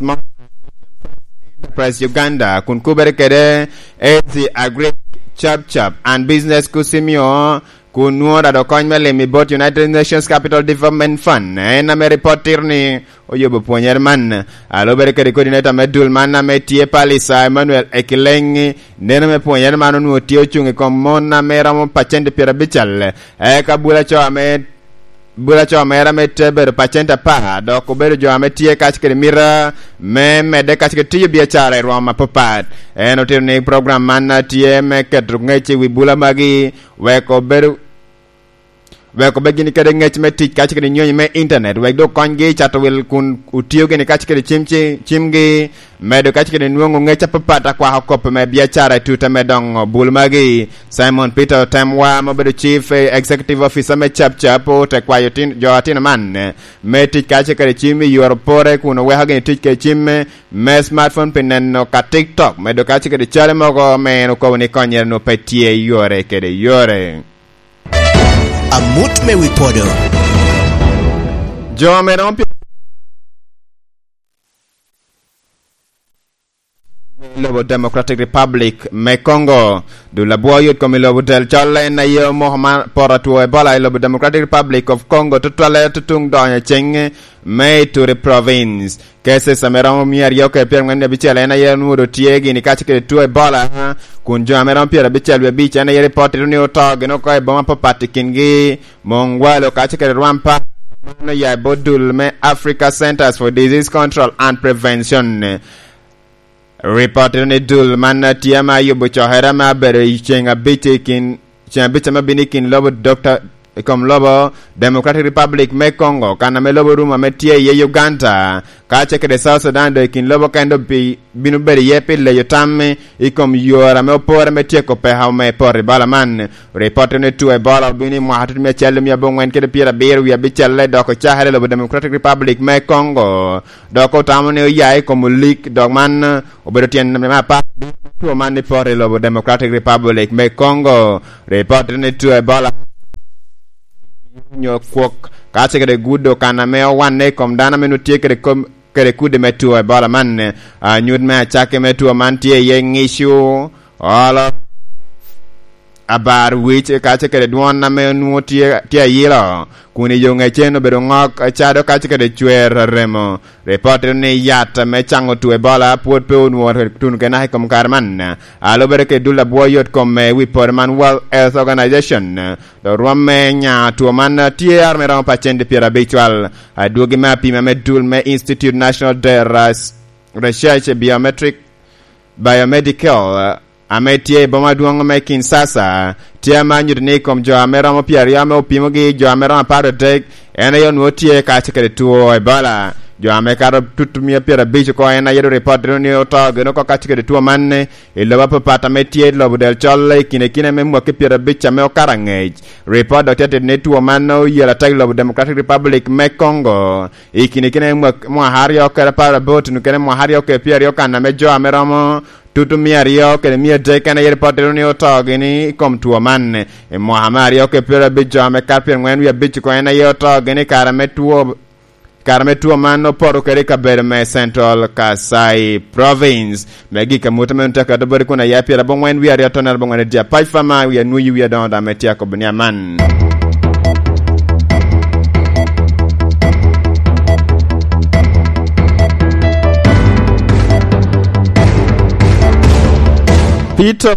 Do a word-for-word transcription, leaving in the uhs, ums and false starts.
Enterprise Uganda, kun kubere kede A Z Agri Chap Chap and Business Kusimio, kun nwoŋo rado kony me lim i bot United Nations Capital Development Fund. En ame ripot tito ni oyubo pwonyere man. A lubere kede coordinator me dul man ame tye Palisa Emmanuel Ekileŋ, neno me pwonyere man onwoŋo tye ocuŋ i kom mon ame romo pacent pyerabicel. Eka bula co ame bula co mere ame te bedo pacent apar, dok obedo jo ame tye kac kede mita me medde kac kede tiyo biacara i rwom apapat. En otito ni program man tye me keto ŋec i wi bula magi, wek obedo, wek obed gini kede ŋec me tic kac kede nyonyo me internet, wek dok konygi i cato wil kun otio gini kac kede cim ci-, cimgi, medo kac kede nwoŋo ŋec apapat akwako kop me biacara i tute me doŋo bul magi. Simon Peter Otemwa, ma obedo Chief Executive Officer me Chap Chap, ote kwayo tin-, jo atino man me tic kace kede cim i yore pore kun oweko gini tic kede cim me smartphone pi neno ka TikTok, medo kace kede cale mogo me en okobo ni konyere nwo pe tye i yore kede yore. Amut me wi podo. Jo ame romo pi- lobo Democratic Republic me Congo. Dul abwo yot kom i lobo del col en aye omoko man poto two Ebola i lobo Democratic Republic of Congo, tutwalle tutuŋ donyo ceng me Ituri Province. Cases ame romo mia aryo kede pyerangwen wie abicel en aye onwodo tye gini kace kede two Ebola, kun jo ame romo pyerabicel wie abic en aye ripot tito ni oto gin oko i boma apapat, i kingi Mongwalo kace kede Rwampa. Man oya i bot dul me Africa Centers for Disease Control and Prevention. Ripot tito ni dul man tye ame ayubo cokere ame abedo i ceŋ abic i kin, ceŋ abic ame bino i kin lobo Doctor i kom lobo Democratic Republic me Congo, kan ame lobo rum ame tye iye Uganda, kace kede South Sudan, dok i kin lobo kendo pi-, bino bedo iye pi leyo tam i kom yore ame opore me tyeko peko me poto Ebola man. Ripot ni two Ebola obino i mwaka tutumia acel mia abongwen kede pyerabiro wie abicel, dok ocakere i lobo Democratic Republic me Congo, dok otamo ni oya i kom olik, dok man obedo tyen me apar two man ni poto i lobo Democratic Republic me Congo. Ripot ni two Ebola nyo kwok kace kede gudo kan ame owanne i kom dano ame nutye kede kom-, kede kudi me two Ebola man. Anyut me acakki me two man tye iye ŋicu, olo, abar wic, kace kede dwon ame onwoŋo tye, tye ayilo, kun i yo ŋecen obedo ŋok, acado kace kede cwer remo. Ripot tito ni yat me caŋo two Ebola pwod pe onwoŋo tuno kenaka i kom kare man. A lubere kede dul abwo yot kom me wi poto man, World Health Organization, dok rwom me nya two man tye aro me romo pacent pyerabicwal. Adwogi me apima me dul me Institute National de Ras-, Research Biometric, Biomedical, ame tye i boma adwoŋ me Kinshasa, tye ame anyuto ni i kom jo ame romo pyeraryo ame opimogi, jo ame romo apar adek, en aye onwoŋo tye kace kede two Ebola. Jo ame kato tutumia pyerabic oko en aye doŋ ripot ni oto gin oko kace kede two man i lobo apapat ame tye i lobo del col i kine kine me mwaki pyerabic ame okato aŋec. Ripot dok tye tito ni two man oyelo atek i lobo Democratic Republic me Congo i kine kine me mwak-, mwaka aryo kede apar abot, nukene mwaka aryo kede pyeraryo, kan ame jo ame romo tutu mia aryo kede mia adek en aye ripot tito ni oto gini i kom two man. I mwaka me aryo kede pyerabic, jo ame kato pyerangwen wie abic oko en aye oto gini i kare me two, kare me two man opoto kede i kabedo me Central Kasai Province. Me gik amut ame ontek ato boti kun aya pyerabongwen wie aryo tonere bongwen adia pac fama wie anwuyi wie adoŋo dame tye akobo ni aman. Peter